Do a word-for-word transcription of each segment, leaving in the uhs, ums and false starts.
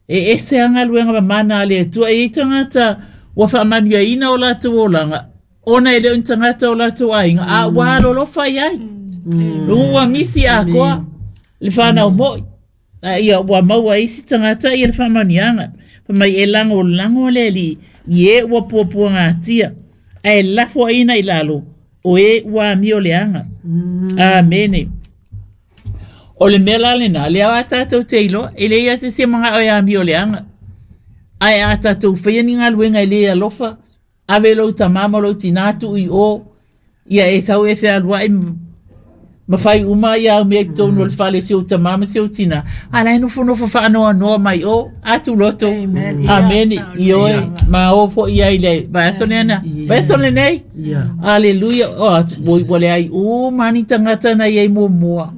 E ese a galuega mamana a le Atua. E i ai tagata ua faamanuiaina o latou olaga, ona e le o ni tagata o latou aiga, a ua alolofa i ai. Ua misi atoa le fanau mo'i. A ia ua maua isi tagata ia le faamanuiaga. Fai mai e lagolago le Alii i e ua puapuagatia, ae lafoaiina i lalo o e ua amioleaga. Amene. O le mea la lena, lea a tatou te iloa, e leai lava se isi e manao e amioleaga. Ae a tatou faia ni galuega e le alofa, ave lou tamā ma lou tinā tuu i o, ia e sau e fealuai ma fai uma ia au mea i totonu o le fale si ou tamā ma si ou tinā, a la e nofonofo faanoanoa mai o, atu loto. Amene. Ioe, ma o foi ai le vaiaso lena. Vaiaso lenei. Aleluia. O, ua leai uma ni tagata na i ai muamua.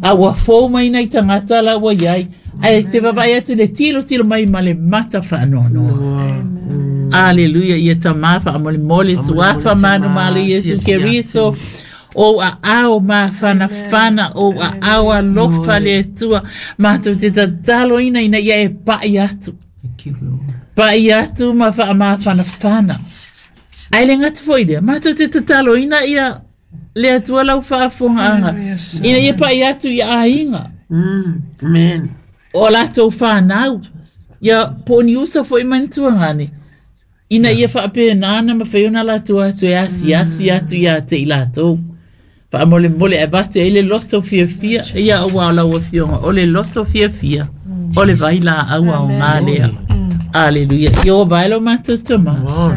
A ua fou mai nai tagata la ua iai. Ae te vaavaai atu le tilotilo mai ma le mata faanoanoa. Aleluia. Ia tamā faamolemole suafa manumalo Iesu Keriso. O aao mafanafana, o aao alofa le Atua. Matou te tataloina ina ia e pai atu. Pai atu ma faamafanafana. Ae le gata foi lea, matou te tataloina ia le Atua lau faafofogaaga, ina ia pai atu i aiga. Amen. O latou fanau. Ia po o ni uso foi ma ni tuagane. Ina ia faapena ona mafai ona latou atu e asiasi atu ia te i latou. Faamolemole e avatu ai le loto fiafia, ia aua o lau afioga, o le loto fiafia, o le vailaau aoga lea. Aleluia. Ieova e lo matou Tamā,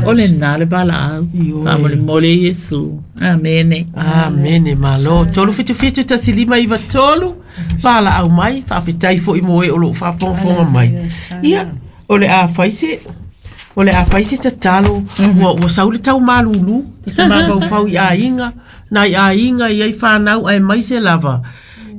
o lena le valaau. Faamolemole Iesu. Amene. Amene, malo. Tolu fitu fitu tasi lima iwa tolu. Valaau mai, faafetai foi mo e o loo faafogafoga mai. Ia, o le a fai se, o le a fai se tatalo, ua, ua sau le tau malulu, te mafaufau i aiga, nai aiga i ai whanau aemaise lava,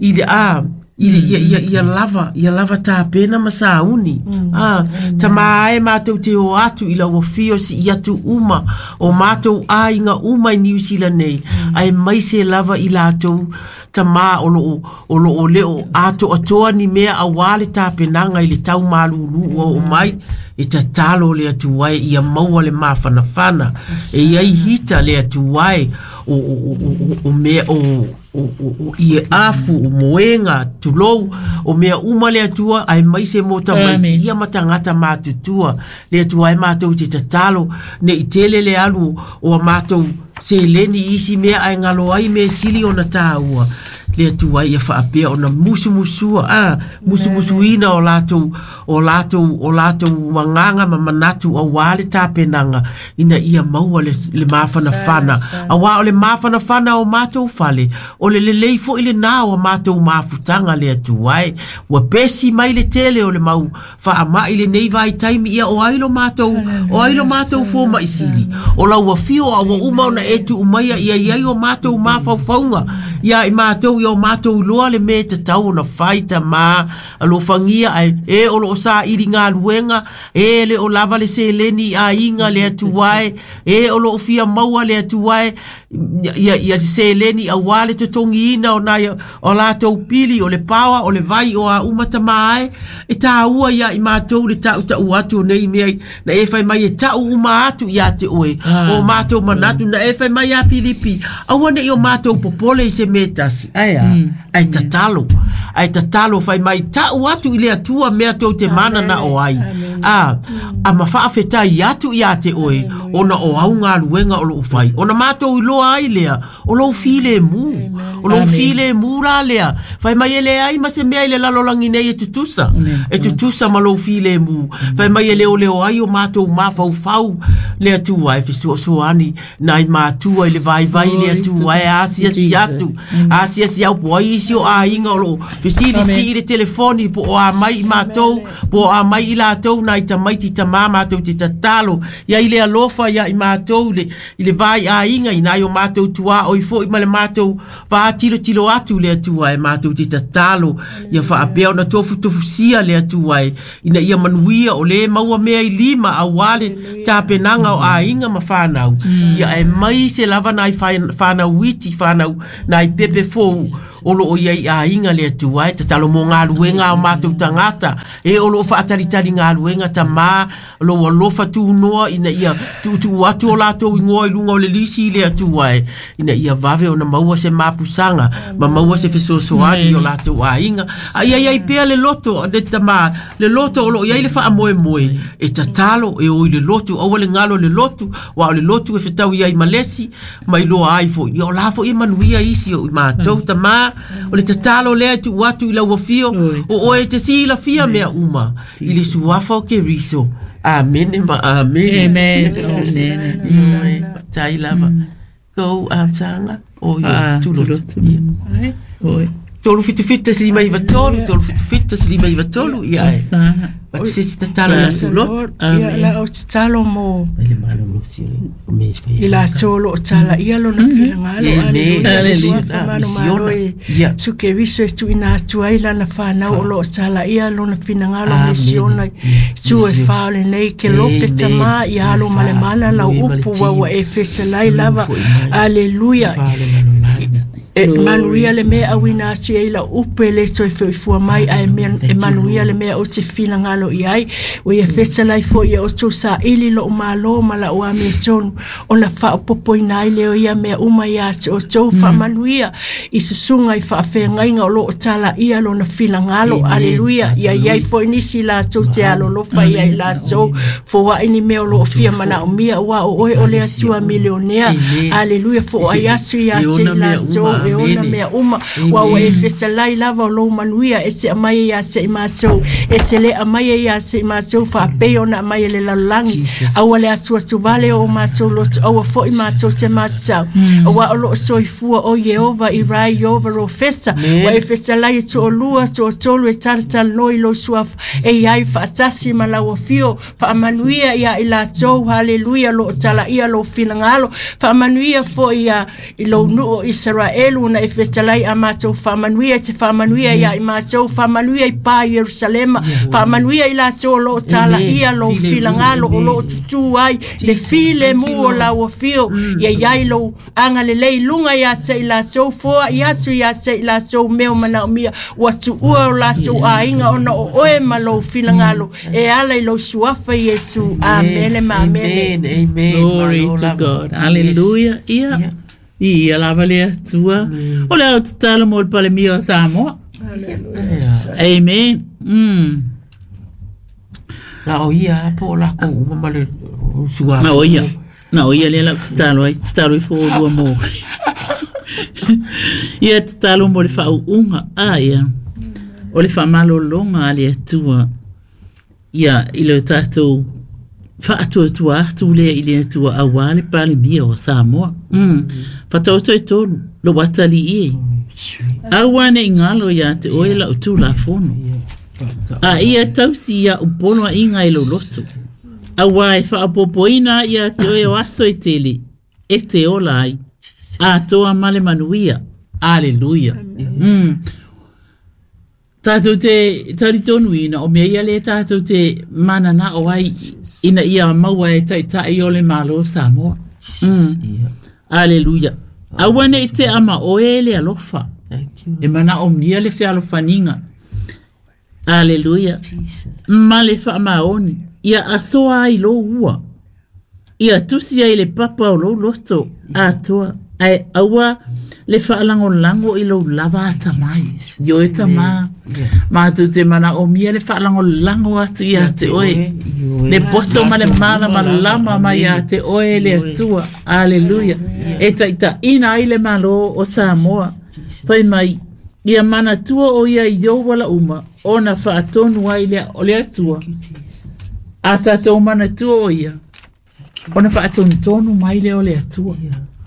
i le a, i le, ia, ia, ia lava, ia lava tapena ma sauni. Ah, tamā e mātou te o atu i lau afio si i atu uma, o mātou aiga uma i Niu Sila nei, aemaise lava i latou tamā o loo, o loo leo ato atoa ni mea auā le tapenaga i le tau malulu ua oo mai, e tatalo le Atua e ia maua le mafanafana, e iai hita le Atua e o, o, o, o, o mea o o, o, o ie afu, o moenga, tulou, o mea uma le Atua, aemaise mo tamaiti Amen. ia ma tagata matutua. Le Atua e mātou te tatalo, nei tele le alu o a mātou seleni i isi mea ae galo ai mea sili ona tāua. Le Atua ia faapea ona musumusua, ah, musumusuina o latou, o latou, o latou agaga ma manatu auā le tapenaga, ina ia maua le, le mafanafana. Auā o le mafanafana o mātou fale, o le lelei foi lenā o a mātou mafutaga le Atua e. Ua pesi mai le tele o le mau faamai lenei vaitaimi, ia o ai lo mātou, o ai lo mātou fomaʻi sili. O lau afio a ua uma ona e tuu maia ia i ai o mātou mafaufauga, ia i mātou ia o mātou iloa le mea e tatau ona fai tamā, alofagia ae e o loo saili galuega, e le o lava le seleni i aiga le Atua e, e o loo fia maua le Atua e, ia, ia seleni auā le totogiina o nai o latou pili, o le paoa, o le vai, o a uma tamā e, e tāua ia i mātou le taʻutaʻu atu o nei mea, na e fai mai e taʻu uma atu ia te oe, o mātou manatu, na e fai mai ia Filipi, aua neʻi o mātou popole i se mea tasi, ae a, ae tatalo, ae tatalo fai mai taʻu atu i le Atua mea tou te manana o ai, a, a ma faafetai atu ia te oe, ona o au galuega o loo fai, ona mātou iloa ai lea, o lou filemu, o lou filemu la lea, fai mai e leai ma se mea i le lalolagi nei e tutusa, e tutusa ma lou filemu, fai mai e leoleo ai o mātou mafaufau le Atua e fesoasoani nai matua i le vaivai le Atua e asiasi atu, asiasi au po ai isi o aiga o loo fesilisii i le telefoni po o a mai i mātou, po o a mai i latou nai tamaiti tamā mātou te tatalo, ia i le alofa alofa ia i mātou le, i le vai a inga i nai o mātou tua oi foi ma le mātou whaatilo tilo atu le atua e mātou te tatalo ia whaapea ona tofu tofu sia le atua e ina ia manuia o le maua mea i lima a wale tapenanga o a inga ma whanau ia e mai se lava nai whanau witi whanau nai pepe fou o lo o ia i a inga le atua e tatalo mo ngā luenga o mātou tangata e o lo whaatalitali ngā luenga ta mā lo alofa tūnoa ina ia tuutuu atu o lātou ingoa i lunga o le lisi i le atua e ina ia vave ona maua se mapusanga ma maua se fesoasoani o lātou aiga a ia iai pea le loto le tamā le loto o loo iai le faamoemoe e tatalo e o i le lotu aua le galo le lotu ua o le lotu e fetau iai malesi ma iloa ai foʻi ia o la foʻi e manuia isi o i matou tamā o le tatalo lea e tuu atu i lau afio o oe e te silafia mea uma i le suafa o Keriso. Amene ma amene. Amen. Amen. Tai lava. Go amsanga o yo tulotu. Oi. Tolu fitu fitu tasi lima iva tolu, tolu fitu fitu tasi lima iva tolu ia e. But se tatalo ia tulotu. Ia la o tatalo mo. I la tolo o tala ia lona finagalo. Aleluia. Ia su Keriso e tuuina atu ai lana whanau o lo o tala ia lona finagalo misiona. Tu e whao le nei ke lope tama ia alo male mana lau upu wawa e feselai lava. Aleluia. E manuia le mea awina atu ai la upe le toe feifua mai ae mea e manuia le mea o te finagalo i ai o ia feselai foi ia o tou saili lou malo ma lau amiotonu ona faaopopoina ai lea o ia mea uma ia te outou faamanuia i susuga i faafeagaiga o loo talaia lona finagalo. Aleluia. Ia iai foi nisi latou te alolofa ia i latou foai ni mea o loo fia manaomia ua o oe o le Atua milionea. Aleluia. Foai atu ia te i latou e ona mea uma ua ua e feselai lava o lou manuia e te aumai ia te i matou e te le aumai ia te i matou faapei ona aumai e le lalolagi aua le atuatuvale o matou loto aua foʻi matou te matatau aua o loo soifua o Ieova i rai Iova ro fesa ua e feselai e toalua toatolu e talatalanoa i lou suafa e iai faatasi ma lau afio faamanuia ia i latou. Haleluia. Loo talaia lou finagalo faamanuia foʻi ia i lou nuu o Isaraelu na e feselai a matou faamanuia te faamanuia ia i matou faamanuia i pa Ierusalema faamanuia i latou o loo talaia lou finagalo o loo tutū ai le file mu o lau afio ia iai lou agalelei luga ia te i latou foa i atu ia te i latou mea o manaomia ua tuua o latou aiga ona o oe ma lou finagalo e ala i lou suafa Iesu. Amene ma amene. Amen. Glory to God. Hallelujah. Ia. Ia lava le Atua. O le au tatalo mo le palemia o Samoa. Amen. Mm. La o ia po la ko uma ma le sua. Na o ia. Na o ia le lau tatalo ai tatalo i fo lua mo. Ia tatalo mo le faauuga a ia. O le faamalologa a le Atua. Ia i le tatou faatuatua atu lea i le Atua auā le palemia o Samoa. Mm. Fatauto e tolu, lo atali ie. Aua ne ingalo ia te oe lau tulafono. A ia tausi ia upono a inga i loloto. Aua e faapopoina ia te oe o aso e tele, e te ola ai. A toa male manuia. Aleluia. Mm. Tātou te taritonuina o mea ia le tātou te manana o ai ina ia maua e taitai o le malo Samoa. Mm. Aleluia. Aua ne i te ama oe le alofa. E mana o mia le fealofaniga. Aleluia. Ma le faamaoni. Ia asoa ai lou ua. Ia tusi ai le papa o lou loto atoa. Ae aua le faalagolago i lou lava atamai. Io e tamā. Mātou te mana o mia le faalagolago atu ia te oe. Le poto ma le malamalama mai ia te oe le Atua. Aleluia. E taitaina ai le malo o Samoa. Fai mai, ia manatua o ia i ou ala uma, ona faatonu ai lea o le Atua. A tatou manatua o ia, ona faatonutonu mai lea o le Atua.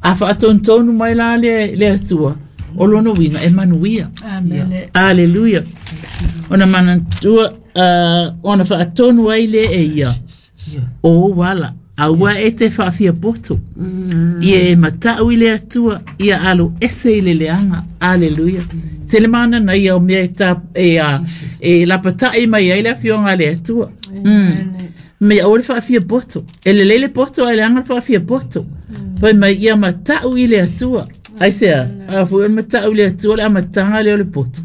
A faatonutonu mai la le, le Atua, o lona uiga e manuia. Amen. Aleluia. Ona manatua, uh, ona faatonu ai le e ia, o ou ala. Aua e te whaafia poto. Ia e matau i le atua, ia alo ese i le leanga. Aleluia. Tele mana na ia o mea e, ta, e, a, e lapatai mai ai le afioga le atua. Mm. Me o le whaafia poto. E le lele poto ai leanga le whaafia poto. Fai mai ia matau i le atua. Ai sea, a fu e matau i le atua le amatanga le o le poto.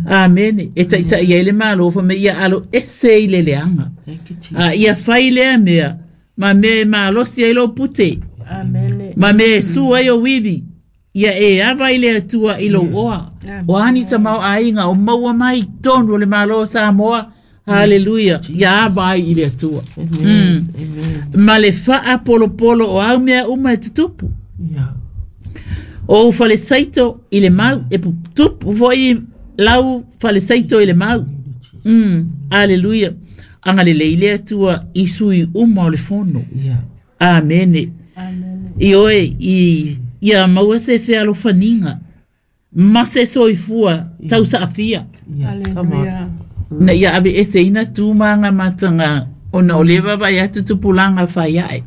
Amene. E taitai ai le malo, fai mai ia alo ese i le leanga. Thank you, Jesus. A ia fai lea mea, ma me malosi ai lo pute. Amen. Ma me su ai o wivi. Ia e ava i le atua i lo oa. O ani ta mau ainga o maua mai tonu o le malo Samoa. Hallelujah. Ia ava ai i le atua. Amen. Amen. Ma le faa polo polo o au mea uma e tutupu. Yeah. O fale saito i le mau. E tupu foi lau fale saito i le mau. Mm. Hallelujah. Anga le leile atua i sui uma o le fono. Yeah. Amene. Amen. I oe i ia maua se fealofaninga ma se soifua tausaafia. Yeah. Come on. Hallelujah. Na ia ave ese ina tūmanga matanga ona o le vava ia tutupulanga whai ae.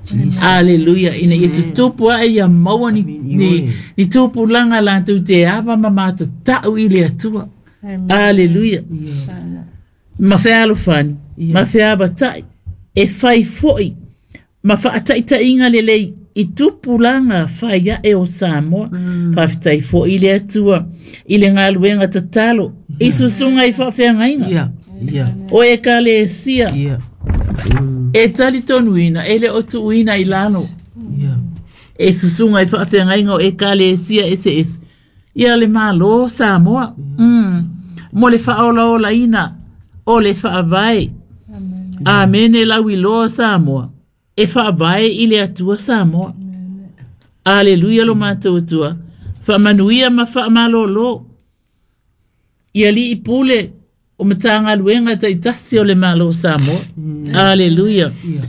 Jesus. Hallelujah. Ina ia tutupu ae ia maua ni, Amen. ni, ni tupulanga lātou te ava ma matatau i le atua. Amen. Hallelujah. Sana. Ma fealofani, Yeah. ma feavatai, e whai foi, ma whaataitainga lelei i tupulanga whai ae o Samoa. Mm. Whawhitai foi i le atua, i le ngaluenga tatalo, i susunga i whaafeangainga. Yeah. Yeah. O e ka le sia, Yeah. Mm. e tali tonuina, e le o tuuina i lalo. Yeah. E susunga i whaafeangainga o e ka le sia ese ese. Ia le malo Samoa. Mm. Mo le whaolaola ina, o le whaavae. Amen. Amene lau iloa Samoa. E whaavae i le atua Samoa. Aleluia lo mātou atua. Whaamanuia ma whaamalolo. Ia li i pule o matanga luenga taitasi o le malo Samoa. Aleluia. Yeah.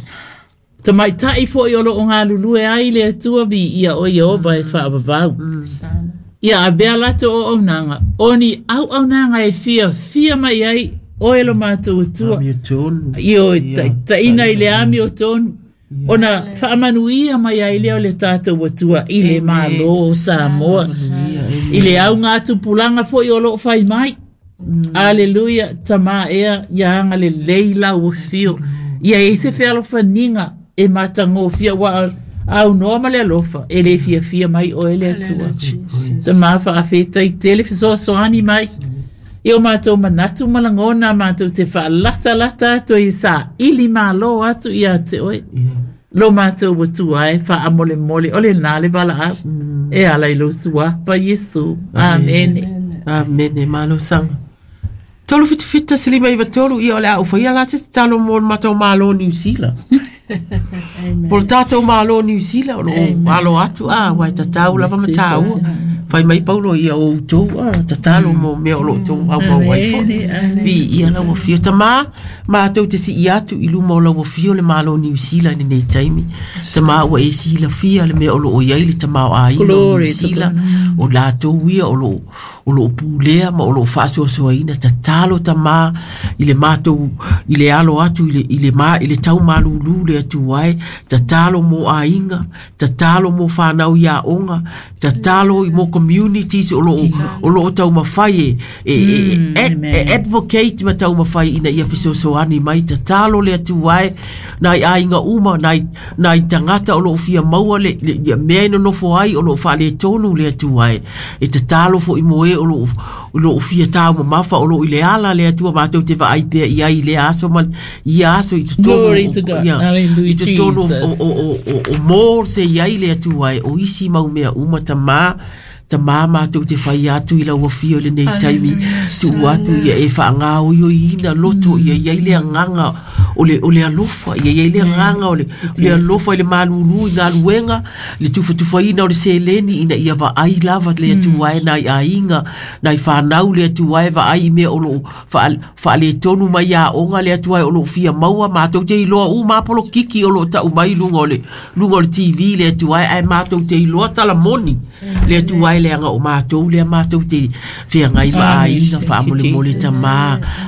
Tamaitai foi o lo o ngā lulue ai le atua vi ia o Iehova e whaavavau. Sana. Ia a bea lato o aunanga. O ni au aunanga e fia, fia mai ai o e lo mātou atua. Amio tonu. Io Ia, ta, taina i le ami o tonu. Ona whaamanuia mai ai leo le tātou atua i le malo o Samoa. Yeah. Amen. I le au ngā tupulanga foi o loo whai mai. Aleluia, tamā ea, ia anga le leila o whio. Ia e se fealofaninga e matangofia wa au noa ma le alofa e le fia fia mai o e le atua. Hallelujah, Jesus. Tamā whaafeta i tele fesoasoani mai. I o mātou manatu malangona mātou te whaalata lata atu i sa ili malo atu i a te oe. Yeah. Lo mātou watua e wha amole mole o le nā le bala au. E ala i lo sua pa Yesu. Amen. Amene, malo sanga. Tolu fitu fita se lima iwa tolu ia o le au whaia la se talo mo le matau malo New Zealand. Po le tātou malo New Zealand o lo alo atu a wai tatau lava ma tāua. Whai mai paulo ia o utou a tatalo mo mea o lo tou au mau ai fo. Vi ia lau whio. Tamā, mātou te si i atu i luma o lau whio le malo New Zealand i nei taimi. Tamā ua e si la fia le mea o lo o iai le tamā o āina o New Glory to Zealand. O lātou ia o lo o lo pulea ma o lo whaasoasoaina tatalo tamā i le mātou i le alo atu i le, i le, ma, i le tau malulu le atu ai tatalo mo āinga tatalo mo whānau i a onga tatalo i mo communities o lo o lo tau mawhai e, e, e, e, amen. e advocate ma tau mawhai ina ia fesoasoani mai tatalo le atu ai nai āinga uma nai, nai tangata o lo fia maua le, le, le mea ino nofo ai o lo whaale tonu le atu ai e tatalo fo i moe o lo o lo fia tau mamafa o lo i le ala le atua mātou te vaai pea i ai i le aso ma i aso i totonu Glory o- to God. ia, Hallelujah, i totonu o, Jesus. o, o, o, o mō se i ai le atua ai o isi mau mea uma tamā tamā mātou te whai atu i lau whio le nei taimi tu atu ia e whaangao i o ina loto ia ia i le anganga o le, o le alofa ia ia i le anganga o le, o le alofa i le malulu i ngā luenga le tufatufaina o le seleni ina ia vaai lava le atua e nai ainga nai whanau le atua e vaai i mea o lo wha, whaale tonu mai a onga le atua e o lo fia maua mātou te iloa u māpolo kiki o lo tau mai lunga o le lunga o le T V le atua e ai mātou te iloa tala moni le atua e le anga o mātou le mātou te whea ngai ma Amen. aina wha amole mole tamā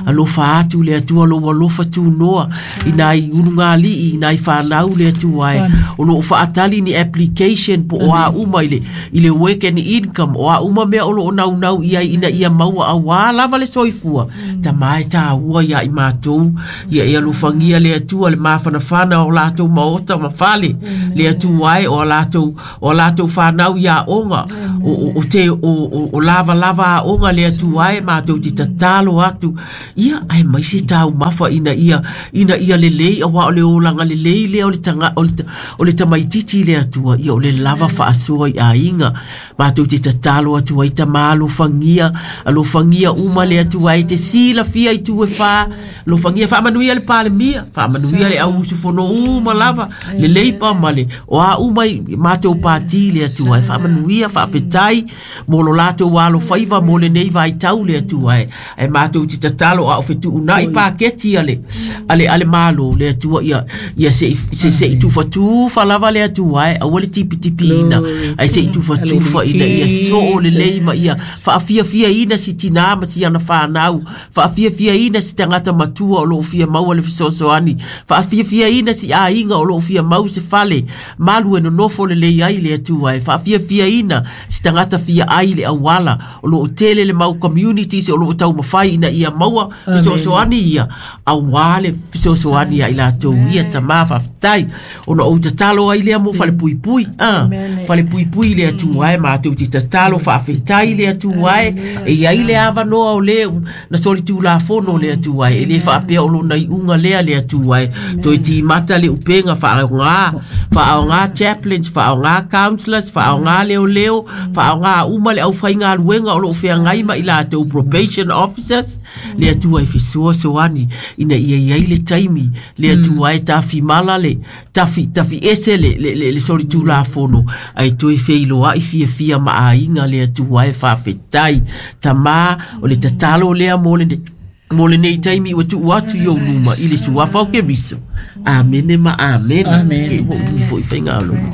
alofa atu le atua lo alofa tūnoa I nai ulugalii i nai fanau le Atua e o loo faatali ni application po o a uma i le, i le work and income o a uma mea o loo naunau i ai ina ia maua auā lava le soifua tamā e tāua ia i matou ia e alofagia le Atua le mafanafana o latou maota ma fale le Atua e o latou o latou fanau ia aoga o, o, o te o, o, o lavalava aoga le Atua e matou te tatalo atu ia ae mai se taumafa ina ia ina ia lelei auā o le olaga lelei lea o le taga o le, o le tamaititi le Atua ia o le lava faasoa i aiga matou te tatalo atu ai tamā alofagia alofagia uma le Atua e te silafia i tu e fā alofagia faamanuia le Palemia faamanuia le au usufono uma lava le Leipa ma le o a uma i matou pati le Atua e faamanuia faafetai mo lo latou alofaiva mo lenei vaitau le Atua e e matou te tatalo a o fetuunai paketi a le a le a le Malo le Atua ia ia se se se i tufatufa lava le Atua e aua le tipitipiina ai se i tufatufa ina ia soo lelei ma ia faafiafiaina si tinā ma si ana fanau faafiafiaina si tagata matua o loo fia maua le fesoasoani faafiafiaina si aiga o loo fia mau se fale malu e nonofo lelei ai le Atua e faafiafiaina si tagata fia ai le auala o loo tele le mau communities o loo taumafai ina ia maua fesoasoani ia auā le fesoasoani ia i latou ia tamā faafetai ona ou tatalo ai lea mo falepuipui ah falepuipui le Atua e matou te tatalo faafetai le Atua e e iai le avanoa o le na solitulafono le Atua e le faapea o lona iuga lea le Atua e toe timata le upega faaogā faaogā chaplains faaogā counselors faaogā leoleo faaogā uma le aufaigaluega o loo feagai ma i latou probation officers le Atua e fesoasoani ina ia iai le taimi le Atua e tafimala le tafi tafi ese le le, le, le solitulafono ai toe feiloai fiafia ma aiga le Atua e faafetai tamā o le tatalo lea mo le mo lenei taimi ua tuu atu i ou luma i le suafa o Keriso. Amene ma amene. Amen. E ua umi foi faigāloma.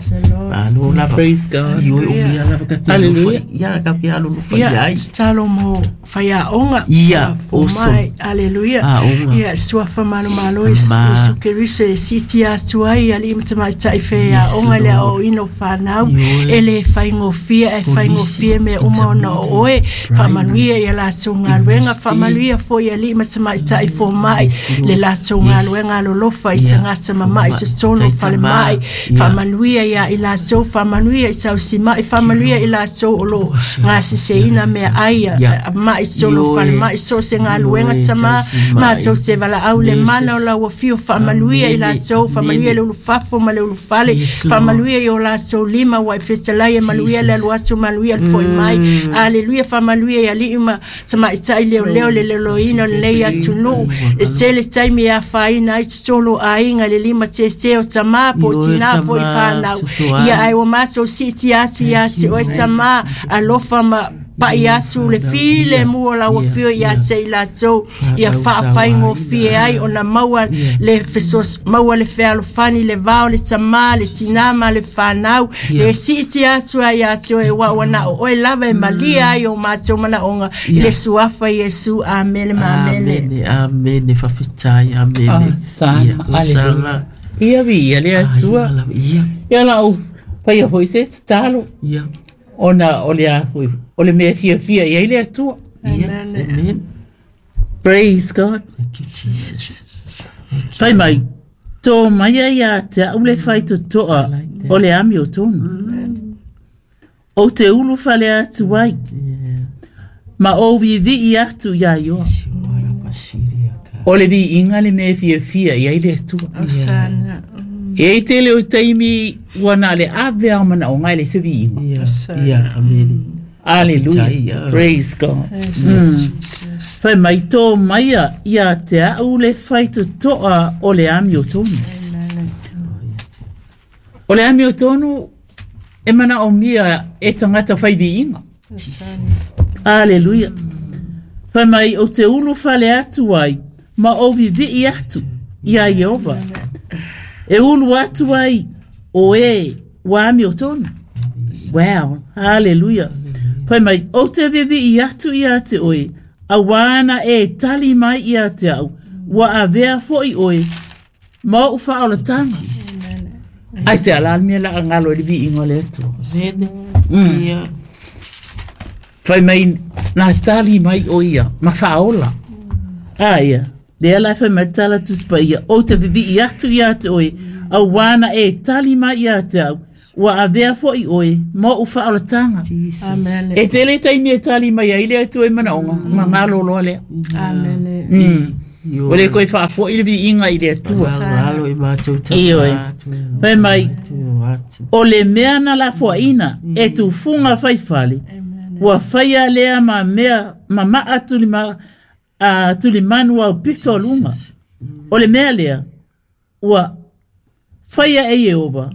Malo lava. Praise God. Ioe o mea lava ka te Hallelujah. alofa ia ka te alolofa Ia, i ai. tatalo mo faiaoga. Ia, Fomai, awesome. Aleluia. Aoga. Ia, suafa malomalo e Ma. Iesu Keriso e siti atu ai alii ma tamaitai faiaoga le Lord. aoaoina o fanau. Ioe. E le faigofie ae faigofie mea uma ona o oe. Faamanuia ia latou galuega, Ministry. faamanuia foi alii ma tamaitai fomai Yes, Lord. le latou Yes. galuega alolofa i Ia. tagata mama'i Fomai. totonu o Taitama. falemai. Ia. Faamanuia ia i latou, faamanuia i tausima'i, faamanuia i latou o loo gasiseina meaai a- Ia. a- ma'i totonu o Ioe. falemai so se galuega Ioe, tamā tausima'i. matou te valaau le mana o Jesus. lau afio faamanuia i Amene. latou, faamanuia Amene. le ulufafo ma le ulufale, Yes, Lord. faamanuia i o latou lima ua e fetalai e manuia le Jesus. alu atu manuia le fo'i mai. Aleluia, faamanuia i alii ma tamaitai leoleo le leloina o lenei atunuu e tele taimi e afaina ai totonu o aiga le lima tētē o tamā po o Ioe, tinā foi tamā, fanau. sosoani. Ia ai ua matou siiti atu ia te oe tamā alofa ma pa'i atu le file mu o lau afio ia te i latou ia faafaigofie ai ona maua le fesos maua le fealofani le va o le tamā le tinā ma le fanau le siiti atu ai ia te oe ua ua na o oe lava e malia ai o matou manaoga i le suafa Iesu. Amene ma amene. Amene, amene, faafetai, amene. Ah, sana, Ia, aleluia. Ia viia le Atua. Ai, lava, ia, Ia lau paia foi se tatalo ia, ona o le a foi o le mea fiafia i ai le Atua. ia. Amen. Praise God. Thank you, Jesus. Thank you. Fai mai, tō mai ai a te au le whai totoa o le ami o tonu. O te ulu whale atu ai, Yeah. ma o vivi atu ia ioa. O le vi inga le mea fiafia i ai le Atua. Osana. E ai tele o taimi ua na le ave au mana o ngai le se vi inga. Ia, Osana. ia, amene. Hallelujah. Faafetai, ia. Praise God. Jesus. Fai mai tō maia ia te au le whai totoa o le ami o tonu. O le ami o tonu e mana o mia e tangata whai vi inga. Hallelujah. Fai mai o te ulu whale atu ai, ma o vivi atu ia Iehova. E ulu atu ai o e wa ami o tonu. Wow, hallelujah. Fai mai o te vivi atu ia te oe, a wana e tali mai ia te au, wa avea foi oe Ma ou faaolataga. Ai se ala le mea la galo i le viiga o le Atua. Ia. Fai mai na tali mai o ia ma faaola. A ia, lea la fai mai tala Tusi Paia, ou te vivii atu ia te oe, auā na e tali mai ia te au, ua avea foi oe ma ou faaolataga. Amen. E tele taimi e tali mai ai le Atua i manaoga, ma malolo lea. Amen. Mm. O le koe faafo'i le viiga i le Atua. Galo i matou Ioe. tama. Fai mai, Atu. o le mea na lafoaina e tufuga faifale, ua faia lea ma mea ma maa tulima, a, tulimanu au pito o luga. O le mea lea, ua faia e Ieova,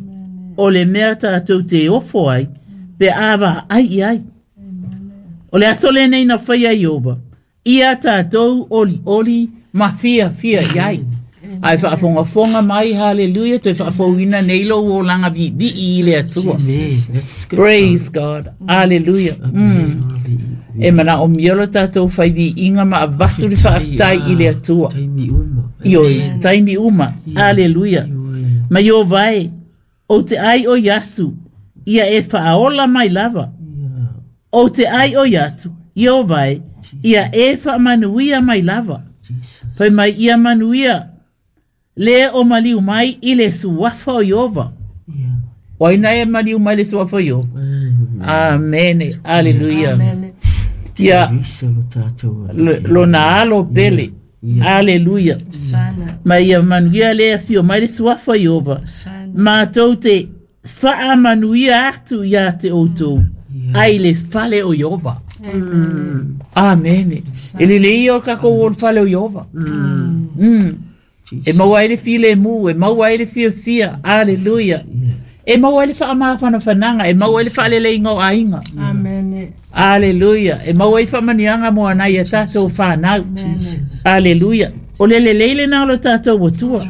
o le mea tatou te ofo ai, pe a vaai i ai. O le aso lenei na faia e Ieova, ia tatou olioli ma fiafia i ai. Ai faafogafoga mai, haleluia, toe faafouina nei lou olaga viivii i le Atua. That's good. Praise God. Hallelujah. Mm. E manaomia lo tatou faiviiga ma avatu le faafetai i le Atua. Taimi uma. Ioe, taimi uma. Hallelujah. Ma Ieova e, ou te ai oi atu, ia e faaola mai lava. Ou te ai oi atu, Ieova e, ia e faamanuia mai lava. Jesus. Fai mai ia manuia, le o maliu mai i le suafa o Ieova. Ia. O ai na e maliu mai le suafa o Ieova. Amene, aleluia. Amen. Ia Risa lo tatou. lo- lona alo pele. Aleluia. Sana. Ma ia manuia le afio mai le suafa o Ieova. Sana. Matou te faamanuia atu ia te outou. Ai le fale o Ieova. Amene. E lelei ia o takou o le fale o Ieova. Mm. E maua ai le filemu, e maua ai le fiafia. Aleluia. E maua ai le faamafanafanaga, e maua ai le faaleleiga o aiga. Amen. Aleluia. E maua ai faamanuiaga mo anai a tatou fanau. Aleluia. O le lelei lena o lo tatou Atua.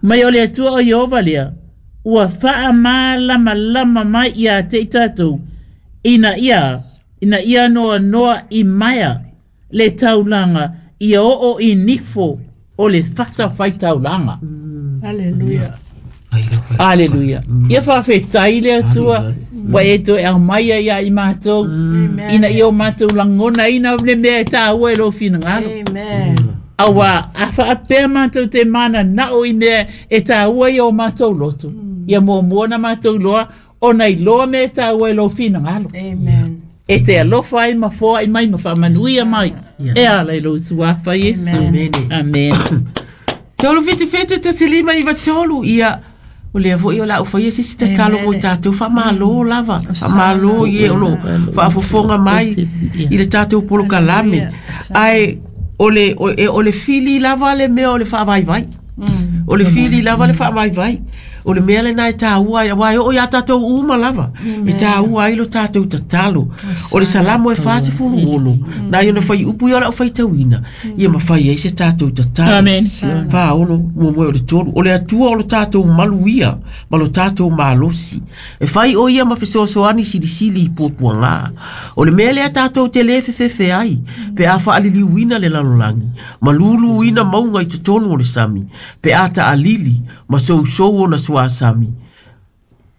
Mai o le Atua o Ieova lea, ua faamalamalama mai ia te i tatou, ina ia, ina ia noanoa i maea le taulaga, ia oo i nifo o le fata faitaulaga. Hallelujah. Aleluia. Ia faafetai le Atua, ua e toe aumaia ia i matou, ina ia o matou lagonaina le mea e tāua e lou finagalo. Amen. Auā, a faapea matou te mananao i mea e tāua ia o matou loto. Ia muamua na matou iloa, ona iloa mea e tāua e lou finagalo. Amen. E te alofa ai ma foai mai ma faamanuia mai. E ala i lou suafa Iesu. Amen. Amen. Tolu fitu fitu tasi lima iwa tolu. Ia. O lea foi o lau faia se si tatalo mo i tatou whamalo lava. Whamalo i e o lo whaafofonga mai i le tatou polokalame. Ai, o le, o, e, o le fili lava le mea o le whaavaivai. O le fili lava le whaavaivai. O le mea le nai tāua ai, wai o ia tātou uma lava. E tāua ai lo tātou tatalo. O le salamo e wha se fulu olo. Nai ona whai upu i ora o whai tauina. Ia mawhai ai se tātou tatalo. Amen. Whaolo, mo moe o le tolu. O le atua o lo tātou maluia, ma lo tātou malosi. E whai o ia ma fesoasoani silisili i puapuaga. O le mea lea tātou te le fefefe ai, pe a whaaliliuina le lalolangi, ma luluina maunga i totonu o le sami, pe a taalili, ma sousou ona suasami,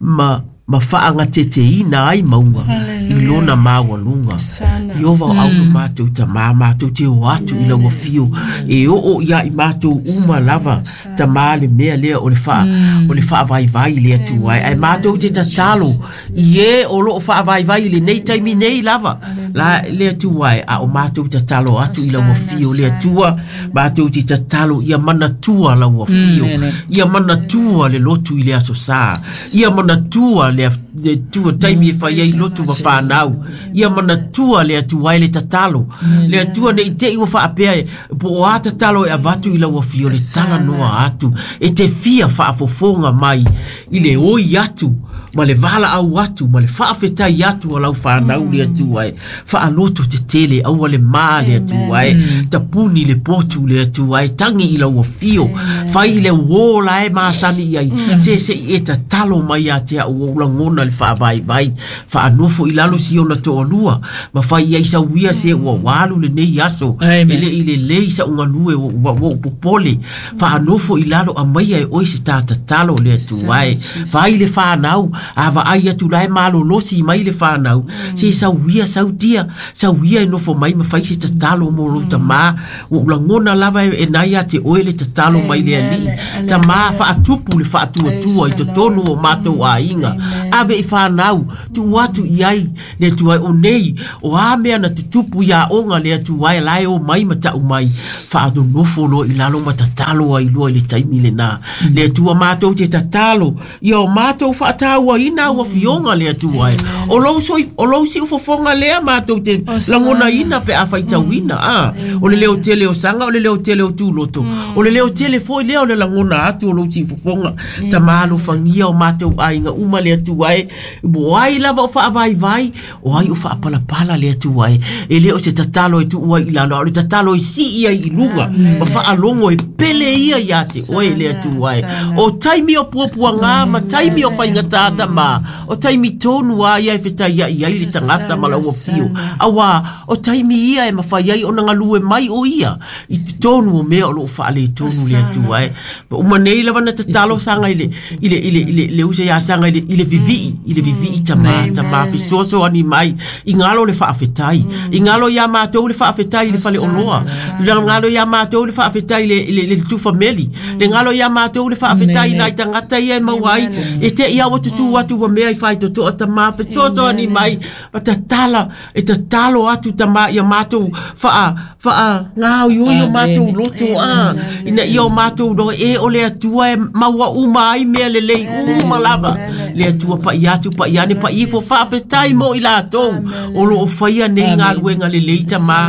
ma ma whaangateteina ai maunga i lona maualuga. Sana. Iova o aulo mātou tamā mātou te o atu i lau afio e oo ia i mātou uma lava tamā le mea lea o le wha, o le whaavaivai le atu ai. Ai mātou te tatalo i e o loo whaavaivai le nei taimi nei lava la le atu ai a o mātou tatalo atu i lau afio le atua mātou te tatalo ia manatua lau afio ia manatua le lotu i le aso sā ia manatua le af- le atua taimi e whai ai lotu ma whanau ia manatua le atua ai le tatalo le atua nei te i wa whaapea e po o a tatalo e avatu i lau afio le tala noa atu e te fia whaafofonga mai i le oi atu Ma le valaau atu ma le faafetai atu a lau fanau le Atua e. Faaloto tetele aua le ma le Atua e. Tapuni le potu le Atua e. Tagi i lau afio. Fai i le uō la e masani i ai. Se se i e tatalo mai ia te au ou lagona le faavaivai. Faanofo i lalo si ona toalua. Ma fai i ai sauia se ua walu lenei aso. E le i lelei sa ugalue ua ua popole. Faanofo i lalo amaia e oe se tatatalo le Atua e. Fai le fanau. Ava ai atu lae malolosi mai le whanau. Se sauia sautia. Sauia e nofo mai ma fai se tatalo mo lo tamā. Ua ulangona lava e nai a te oe le tatalo mai le alii. Tamā faatupu le faatuatua i totonu o mātou aiga. Ave i whanau. Tu atu i ai le Atua o nei. O a mea na tutupu ia onga le Atua e lae o mai ma tau mai. Faanonofo loa i lalo ma tatalo ai loa i le taimi lena. Le Atua mātou te tatalo. Ia o mātou whaataua ina ua fionga le Atua e. O lou soi, o lou si ufofonga lea mātou te langona ina pe a whaitauina. Ah, o le leo tele o sanga, o le leo tele o tūloto. O le leo tele foi lea o le langona atu o lou si ufofonga. Ta malo fangia o mātou aiga uma le Atua e. Mo ai lava o whaavaivai, o ai o whaapalapala le Atua e. E leo se tatalo e tuua i lalo, o le tatalo e si ia i lunga. Ma whaalongo e pele ia ia te oe le Atua e. O taimi o puapuanga, ma taimi o whaingatata ma. O taimi tonu a ia e whitai ia i ai le tangata ma lau fio. Awa, o taimi ia e mawhai ai o nanga lue mai o ia. I te tonu o mea o loo whaale tonu le Atua e. Ma uma nei lava na tatalo sanga i le, i le, i le, i le, le usa ia sanga i le, i le vivii, i le vivii tamā, tamā, fesoaso ani mai. I ngalo le whaafetai. I ngalo ia mātou le whaafetai i le whale oloa. Le ngalo ia mātou le whaafetai le, le, le tufa meli. Le ngalo ia mātou le whaafetai nai tangata ia e mauai. E te ia o tutu atu wa mea i whai toto tamā, fesoaso ani mai. Ma tatala, e tatalo atu tamā ia mātou whaa, whaa ngāo io mātou loto a. Ina ia o mātou no e o le Atua e maua uma ai mea le lei uma lava. Le Atua pa i atu pa i ane pa i fo whaafetai mo i lātou. O lo o whaia nei ngā luenga le lei tamā.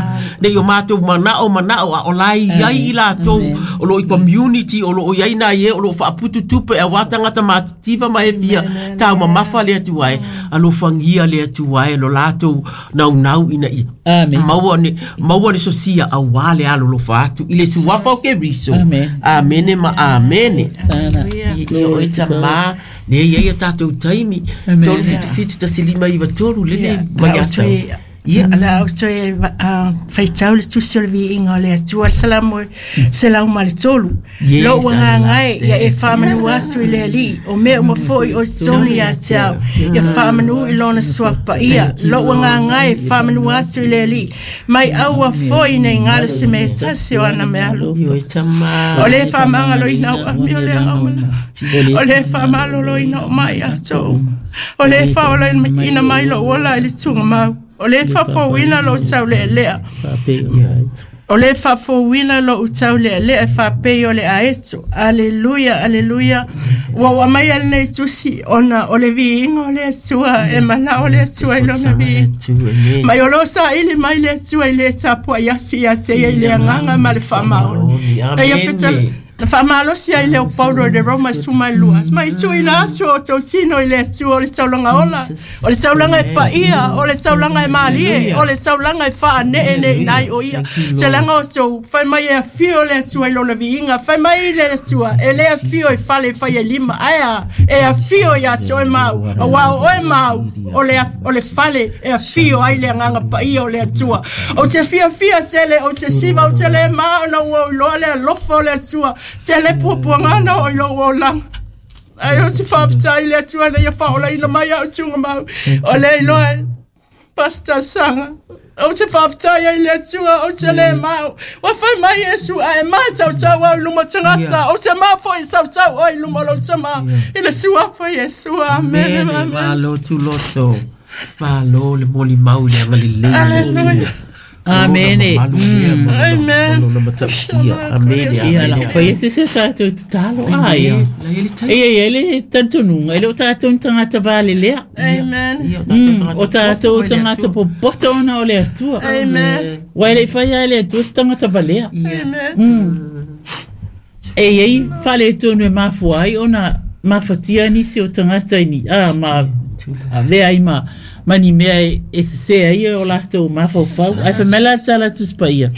Nei o mātou manao manao a o lai iai i lātou. O lo i community, o lo o iai nā ie, o lo o whaaputu tupe a wātangata mātitiva ma e fia. Tau mamafa le Atua e. Alofangia le Atua e lo lātou nau nau ina ia. Maua ne, maua le sosia a wale alo lo whaatu. I le suafa o ke riso. Amene ma amene. I o e tamā. Ne ia ia tātou taimi. Tolu fitu fitu tasilima iwa tolu lele. Mai atau. Ia la au toe faitau le tusi o le viiga o le Atua Salamo selau ma le tolu. Lou agaga e ia e faamanu asu i le Alii o mea uma foʻi o totonu ia te au ia faamanu i lona suapaia. Lou agaga e faamanu asu i le Alii mai aua foʻi nei galo se mea tasi o ana mealo. O le faamagaloina ou ami o le agaumala. O le faamaloloina o mai atou. O le faaolaina mai lou ola i le tugamau. O le faafouina lou taulealea. O le faafouina lou taulealea e faapei o le aeto. Aleluia, aleluia. Ua ua mai a lenei tusi ona o le viiga o le Atua e manao le Atua i lona viiga. Mai o loo saili mai le Atua i le tapuai atu ia te ia i le agaga ma le faamaoni. E ia fetala Na faamalosi ai le o Paulo i le Roma sumalua. Mai tuuina atu o tautino i le Atua o le taulaga ola, o le taulaga e paia, o le taulaga e malie, o le taulaga e faaneeneeina ai o ia. Talaga o tou, fai mai e afio le Atua i lona viiga, fai mai le Atua, e le afio i fale e fai e lima, ae a, e afio ia te oe mau, auā o oe mau, o le, o le fale e afio ai le agaga paia o le Atua. Ou te fiafia tele, ou te siva, ou te le ma, ona ua iloa le alofa o le Atua. Se le puapuaga o i lou olaga. Ai o se faafetai le Atua na ia faaolaina mai au tuga mau. O le iloa e Pastor Sanga. Ou te faafetai ai le Atua, ou te le mau. Ua fai mai Iesu ae matautau au i luma tagata. Ou te mafoʻi sautau oe i luma o lou tamā. I le suafa Iesu. Amene, amene. Malo tuloto. Malo le molimau le agalelei. Aleluia. Amene. Amen. Amene. Ia la fai se se tātou tatalo ai. Ia ia le tantonuga e le o tātou tagata valelea. Amen. O tātou tagata popoto ona o le Atua. Amen. Ua e le fai ai le Atua se tagata valea. Amen. E iai faaletonu e mafua ai ona mafatia nisi o tagata i ni a ma avea ai ma ma ni mea e sesē ai o latou mafaufau ae faimai la le tala Tusi Paia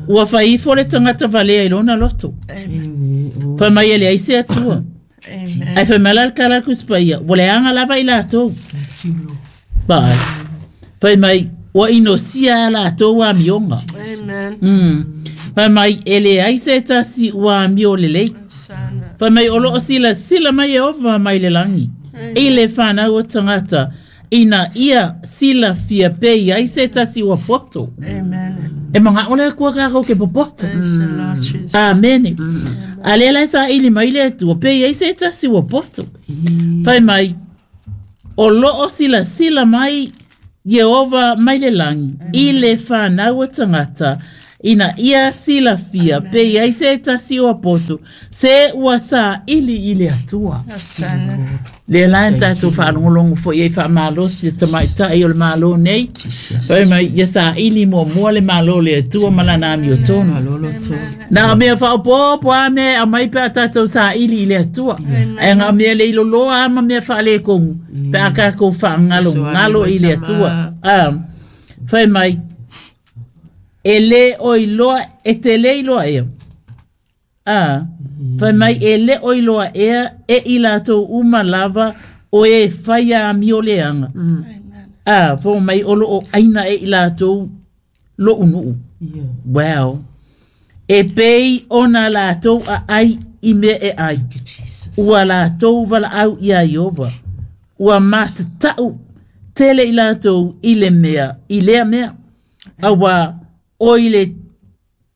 ua faifo le tagata valea i lona loto faimai e leai se Atua ae faimai la le tala Tusi Paia ua leaga lava i latou vaai faimai ua inosia a latou amioga. Amen. Faimai e leai se tasi ua amio lelei. Faimai o loo silasila mai Ieova mai le lagi i le fanau o tagata ina ia silafia pe i ai se tasi ua poto. E maga'o le Atua tatou ke popoto. Amene. A lea la e saʻili mai le Atua pe i ai se tasi ua poto. Faimai o loo silasila mai Ieova mai le lagi i le fanau o tagata ina ia silafia pe i ai se tasi ua poto se ua saʻili i le Atua. Lea la e tatou faalogologo foi ai faamalosi e tamaitaʻi o le Malo nei faimai ia saʻili muamua le Malo o le Atua ma lana amiotonu na o mea faaopoopo a mea e aumai pe a tatou saʻili i le Atua ae ga o mea leiloloa a ma mea faaletogu pe a tatou faagalogalo i le Atua. A faimai e lē o iloa e te lē iloa ea a faimai e lē o iloa ea e i latou uma lava o e faia amio leaga a fo mai o loo aina e i latou loʻunuʻu. Wow. E pei ona latou aʻai i mea e ai ua latou valaau iā Ieova ua matataʻu tele i latou i le mea i lea mea auā o i le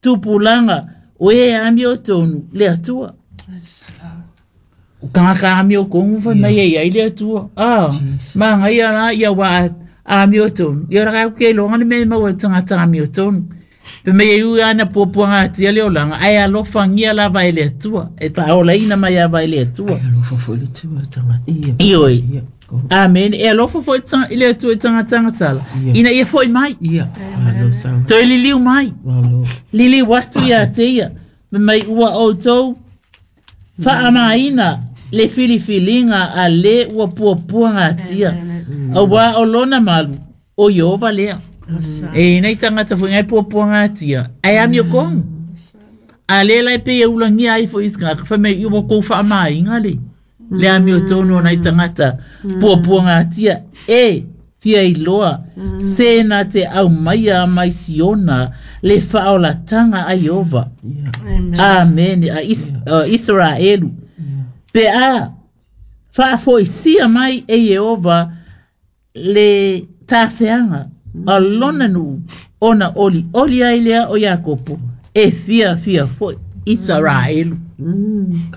tupulaga o e amiotonu le Atua. O tagata amiotogu faimai e iai le Atua a magaia la ia ua amiotonu ia o le ke iloga le mea e maua i tagata amiotonu pe mai e ui ana puapuagatia le olaga ae alofagia lava e le Atua e faaolaina mai ava e le Atua. Ioe. Amen. E alofa foi i le Atua i tagatagasala ina ia foʻi mai toe liliu mai liliu atu iā te ia mai ua outou faamaina le filifiliga a lē ua puapuagatia auā o lona malu o Ieova lea. E nei tagata foi ngai puapuagatia ae amiotogu a lē la e pei e ulagia ai foi isi tagata faimai ua kou faamaina le le amiotonu o nai tagata puapuagatia e fia iloa se na te aumaia mai Siona le faaolataga a Ieova. Amene. A Is, uh, Israelu pe a faafoisia mai e Ieova le tafeaga a lona nuu ona olioli ai lea o Iakopo e fiafia foi Israelu.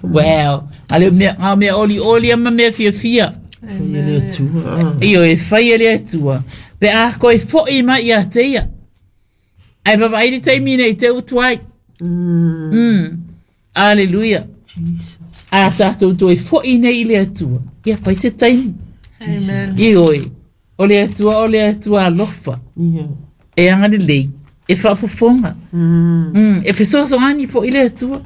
Wow. Ale mea ngā mea olioli ama mea fiafia. Io e fai e le Atua. Pe a koe foʻi mai ia te ia. Ai vavaai le taimi nei te utu ai. Mm. Aleluia. A tatou toe foʻi nei i le Atua. Ia fai se taimi. Io e. O le Atua, o le Atua alofa. E agalelei. E faafofoga. Mm. E fesoasoani foʻi le Atua.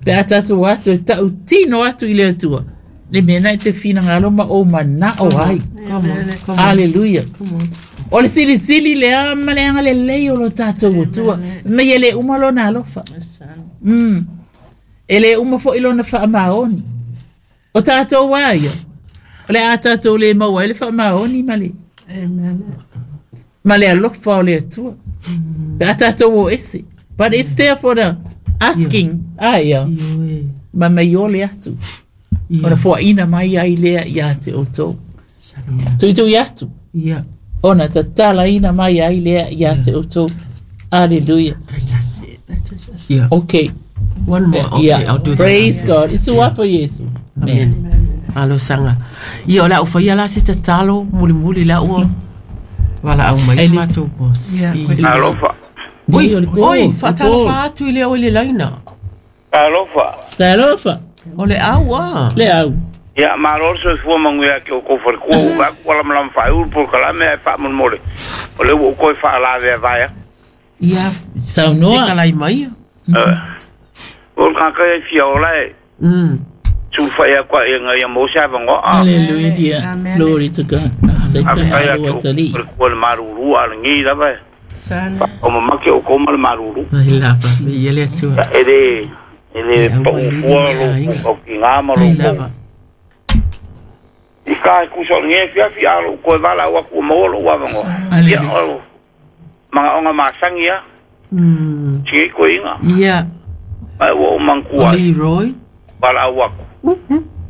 Pe a tatou atu e taʻutino atu i le Atua. Le mea na e te finagalo ma ou manao ai. Aleluia. O le silisili lea ma le agalelei o lo tatou Atua. Mai e lē uma lona alofa. Mm. E lē uma foʻi lona faamaoni. O tatou a ia. O le a tatou lē maua ai le faamaoni ma le ma le alofa o le Atua. Pe a tatou o ese. But it's there for the asking. Ah, ia. Ma mai o le atu. Ona foaʻina mai ai lea iā te outou. Tuitui atu. Ona tatalaina mai ai lea iā te outou. Hallelujah. Okay. One more. Okay, Yeah. I'll do that. Praise God. Isu apa Yesu. Amen. Alosaga. Ia o le au faia la se tatalo mulimuli la ua valaau mai Elisa. matou boss. Ia, Ia. Alofa. Oi, Oi, o le oi, kol, faatalofa atu i le au i le laina. Alofa. Talofa. O le au a. Le au. Ia, malo le soifua manuia ki o kou falekua ua vaai atu ua lamalama faaiu le polokalame ae faamolemole. O le ua ou toe faalavea vaea. Ia, Saunoa. fetalai mai. Eh, o le tagata ia e fia ola e Mm. sulu fai aku a inga ia mo sa vango. Hallelujah. Glory to God. Ai aku ko le maruru a ngi lava. Sana. O mamake o ko ma le maruru. Ai lava, me ia le atua. E le e le pau fua lo o ki ngā ma lo ko. I ka ku so ngi fia fia lo ko vala wa ku mo lo wa vango. Ia o mga onga masangi ya. Mm. Ti ko inga. Ia. Ai o mangkua. Leroy. Vala wa ku.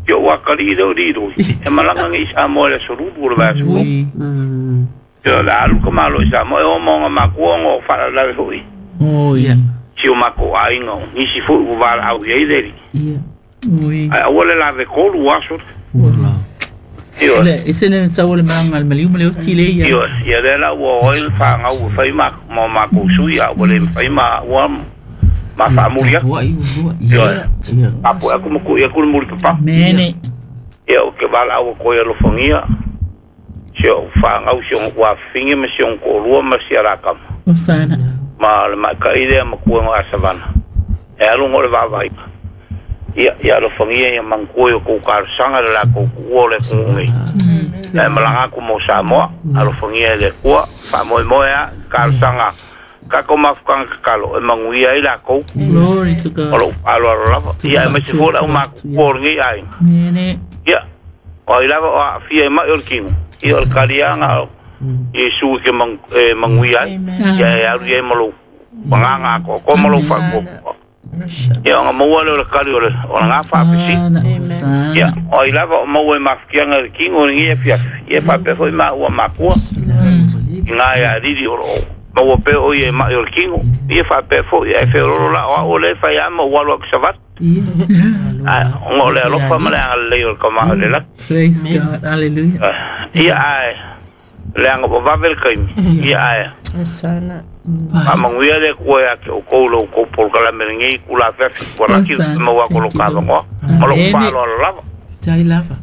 Yo wa kali do di do. E malanga ngi sa mo le sorubu le va su. Mm. Yo la alu ka malo sa mo o mo nga makuongo fa la hui. Oh yeah. Si o mako ainga ni si fu u vala au ye le. Ia. Ui. Ai o le la ve kolu aso. Ula. Io. Le isene sa o le manga al maliu le otile ia. Io ia le la o oil fa nga u fa ma mo ma ko su ia o le fa ma wa ma fa mulia. Ia. Ia. Apo aku mo ku ia ku muri papa. Mene. Ia o ke vala au ko ia lo fongia. Si o fa nga u si o wa fingi ma si o ko lua ma si ara kama. Osana. Ma le ma ka ile ma ku ngo asavana. E alu ngo le va vai. Ia ia lo fongia ia manku yo ko ka sanga la ko ku le ku ngi. E malanga ku mo sa mo alo fongia le ku fa mo mo ya ka sanga ka ko ma ka ka lo e manguia ila ko. Glory to God. Alo alo alo ia ma si fo la ma ku ngi ai. Mene. Ia o ila o fia ma yo ki. Ia o kalianga Yesu ke mang manguia ia e alu ia malo panganga ko ko malo fa ko. Ia nga maua le o le kali o le o nga fa pesi. Ia o ila o maua ma fianga le kingo ngi e fia. Ia fa pe foi ma ua makua. Nga ia riri o maua pe o ia ma o le kingo. Ia fa pe foi ia fe ro la o le fa ia ma ua lo savat. Ah ngo le lo fa ma le le o ka ma le la. Praise God. Hallelujah. Ia ai le anga o vavel kai. Ia ai. Sana. Ma manguia le ko ya ke o ko lo ko pol kala mengi ku la fe ko la ki mo wa ko lo ka ngo. Ma lo pa lo lava. Tai lava.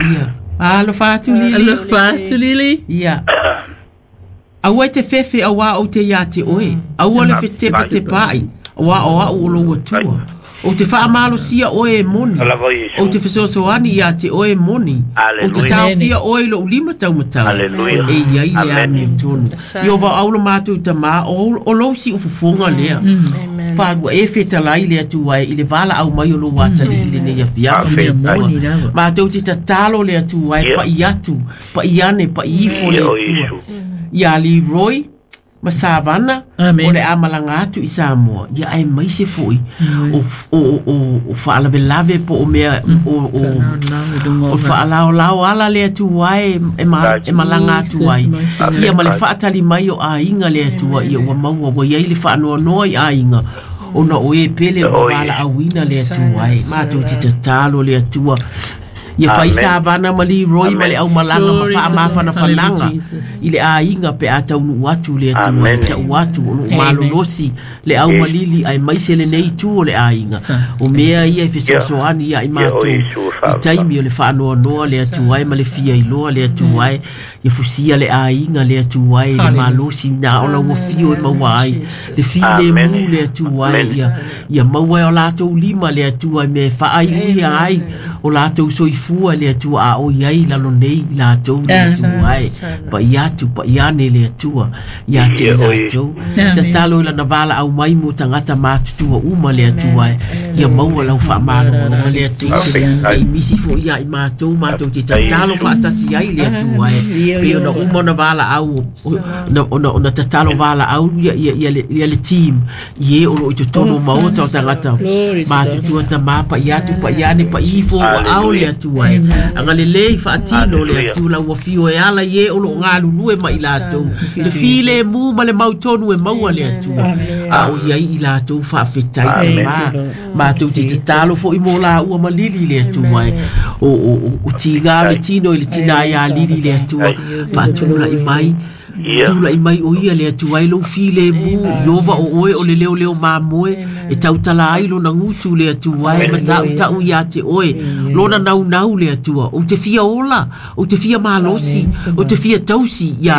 Ia. Alo fatu lili. Alo fatu lili. Ia. Aua te fefe aua o te ia te oe. Aua le fetepa te pai. Aua o au o lo tua. O te whaamalo sia oe e moni. O te fesoasoani ia te oe e moni. O te taofia oe lo ulima taumatau. E ia i le ami o tonu. I o va au lo mātou tamā o lo si ufufonga lea. Whārua e whetalai le atua e i le wala au mai o lo wātali i le nei awhiafi le atua. Mātou te tatalo le atua e pa i atu, pa i ane, pa i ifo le atua. Ia Leroy ma Savana o le amalanga atu i Samoa ia ai mai se foi o o o o faalavelave po o mea o o o faalaolao ala le atu ai e ma e malanga atu ai ia ma le faatali mai o aiga le atua ia ua maua ua iai le faanoanoa i aiga ona o e pele o vala auina le atua ai matou te tatalo le atua ia fai Savana ma Leroy ma le au malanga ma faamafanafanaga i le aiga pe a taunuu atu le atua e ta'u atu o loo malolosi le au malili ae maise lenei itu o le aiga o mea ia e fesoasoani ia i matou i taimi o le faanoanoa le atua e ma le fia iloa le atua e ia fusia le aiga le atua e le malosi na ona ua fio e maua ai le filemu le atua e ia ia maua e o latou lima le atua e mea e faaiuia ai o latou soifua le atua a o iai lalo nei latou le atua e pa i atu pa i ane le atua ia te i latou tatalo i lana vala au mai mo tagata matutua uma le atua e ia maua lau faamalogologa le atua e misi foʻi ia i matou matou te tatalo faatasi ai le atua e pe ona uma ona vala au ona ona tatalo vala au ia ia ia le team i e o loo i totonu o maota o tagata matutua tamā pa i atu pa i ane pa i ifo ua ao le atua e agalelei faatino le atua lau afio e ala i e o loo galulue ma i latou le filemu ma le mautonu e maua le atua a o iai i latou faafetai tamā matou te tatalo foʻi mo laua ma lili le atua e o o o tiga le tino i le tina ia lili le atua faatulaʻi mai tulaʻi mai o ia le atua e lou filemu iova o oe o le leoleo mamoe E tautala ai lona gutu le Atua e ma ta'uta'u iā te oe lona naunau le Atua ou te fia ola ou te fia malosi ou te fia tausi iā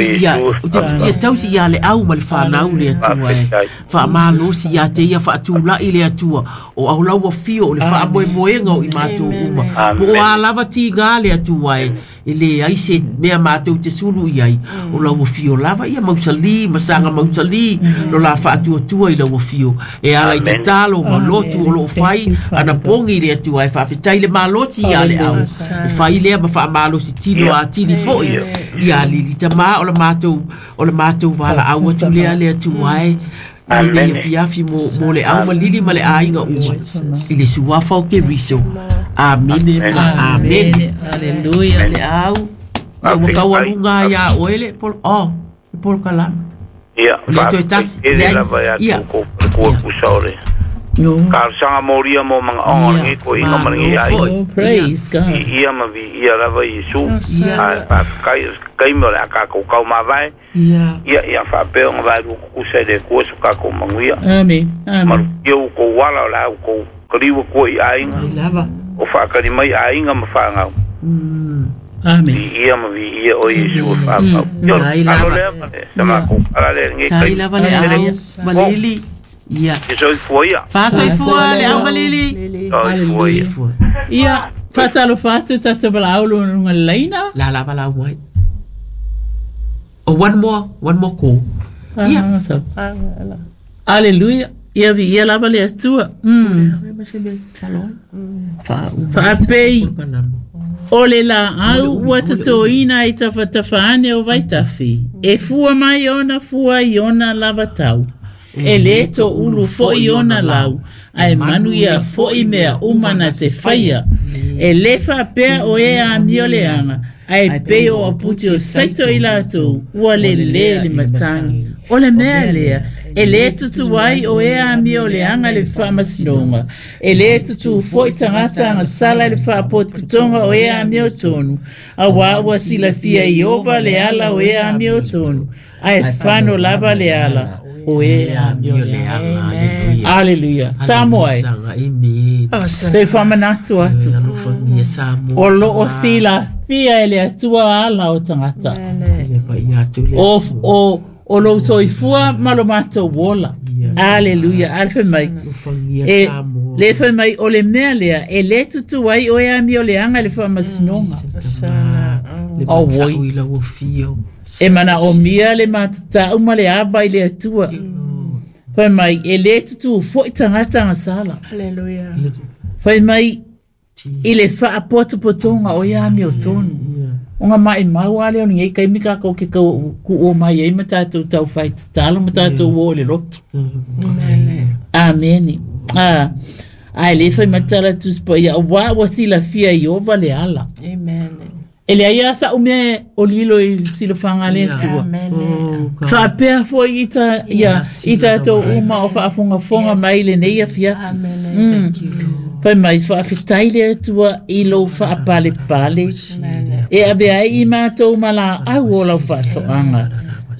ia ou te fia tausi iā le au ma le fanau le Atua e faamalosi iā te ia faatula'i le Atua o au lau afio o le faamoemoega o i matou uma po o a lava tigā le Atua e e leai se mea matou te sulu i ai o lau afio lava ia mausali ma saga mausali lo la faatuatua i lau afio e ala i tatalo ma lotu o loo fai anapogi le Atua e faafetai le malosi iā le au e fai lea ma faamalosi tino atili foʻi ia lili tamā o le matou o le matou valaau atu lea le Atua e i afiafi mo mo le au ma lili ma le aiga uma i le suafa o Keriso. Amene ma amene. Aleluia. Le au ia ua taualuga ai iā oe le polo oh le polokalame ia o le toe tasi le leai lava ia ia tou kua pusa o le No. talosaga molia mo magaoga o ia lenei toeaina ma malo lenei aiga foʻi Oh, ia praise God. i ia ma viia lava Iesu ia ae faafetai o se taimi o le a tatou taumavae ia ia ia faapea ona vaelua tutusa i le Atua so tatou manuia Amen. Amen. malutia ua tou ala o le a ua tou kaliua tua i aiga ai lava o faakali mai aiga ma fanau mm Amen. viia ma viia o Iesu e faapau ia o le tai tatalo lava lea ma le sa matou ala lea i lenei tai taimi lava le tele au ma o lili ia ia soifua ia faasoifua le au ma lili soifua ia soifua Ia, faatalofa atu tatou valaau luga le laina. la lava lau mai oh one more one more call ia Ah, so. Aleluia. Ia viia lava le Atua. Mm. Faapei o le laau ua totoina i tafatafa ane o Vaitafe. E fua mai ona fua i ona lava tau. E lē toʻulu foʻi ona lau, ae manu ia foʻi mea uma na te faia. E lē faapea o e amio leaga, ae pei o aputi o saito i latou, ua lelē le matagi. O le mea lea, e lē tutu ai o e amio leaga le faamasinoga. E lē tutū foʻi tagata agasala i le faapotopotoga o e amio tonu, auā ua silafia Ieova le ala o e amio tonu, ae fano lava le ala o e amio leaga. Aleluia. Aleluia. Samoa e. Amen. Toe faamanatu atu. Alofagia Samoa. O loo silafia e le Atua ala o tagata. Ia paia atu le O, Atua. o, o lou soifua ma lo matou ola. Aleluia. Ale fai mai. Alofagia E, Samoa. le fai mai o le mea lea, e lē tutu ai o e amio leaga i le faamasinoga. Le Oh, mata'u oi. i lau afio. E manaomia le matatau ma le ava i le Atua. Fai mai, e lē tutū foʻi tagata agasala. Hallelujah. Fai mai, i le faapotopotoga o ia amio tonu. O ngā mai mau ale o lenei kaimi kākou ke kau ku o mai ai ma tātou tau whai tatalo ma tātou o le loto. Amene. Ah, ai le fai matala tuspa ia wa wa silafia Ieova le ala. Amen. E le aia sa umea o lilo i silafanga le Atua. Amen. Oh, God. Faapea foʻi i ta ia i tātou uma o faafogafoga mai lenei afiafi. Amen. Mm. Fai mai faafetai le Atua i lou faapalepale. E ave ai i matou ma laau o lau faatoaga.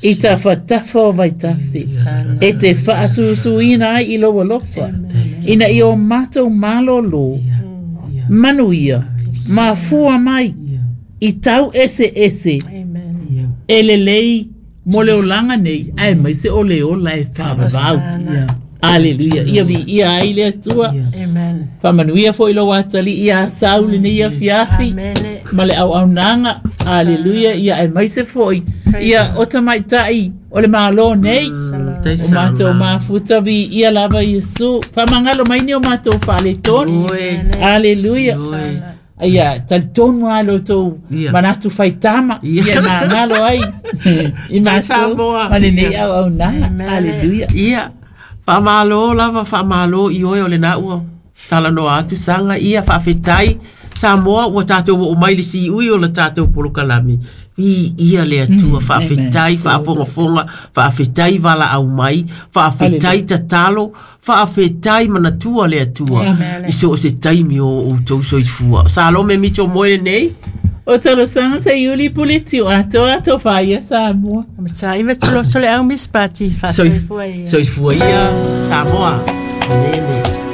I tafatafa o Vaitafe. E te faasusuina ai i lou alofa. Ina ia o matou malōlō. Manuia. Mafua mai. I tau ese ese. Amen. E lelei mo le olaga nei ae mai se o le ola e faavavau. Aleluia. Ia viia ai le Atua. Amen. Faamanuia foʻi lou atalii iā sau lenei afiafi Amen. ma le auaunaga. Aleluia. Ia ae mai se foʻi ia o tamaitaʻi o le mālō nei. Tai O matou sanga. mafuta viia lava Iesu. Faamagalo mai ni o matou faaletonu. Oi. Aleluia. Oi. Ia, talitonu lava lo tou Ia. manatu faitama. Ia. Ia magalo ai. I matou Samoa. ma lenei Ia. auaunaga. Aleluia. Ia, faamalo lava faamalo i oe o lena ua talanoa atu saga ia faafetai Samoa ua tatou oo mai le siui o le tatou polokalame viia le Atua faafetai faafogafoga faafetai valaau mai faafetai tatalo faafetai manatua le Atua i so o se taimi o outou soifua Salome Mitchell moe lenei O talosaga sa iuli puleti o atoa atofa ia Samoa. Mata iwa tuloso le au mispati Soif- faasoifua ia. soifua ia Samoa. Amene.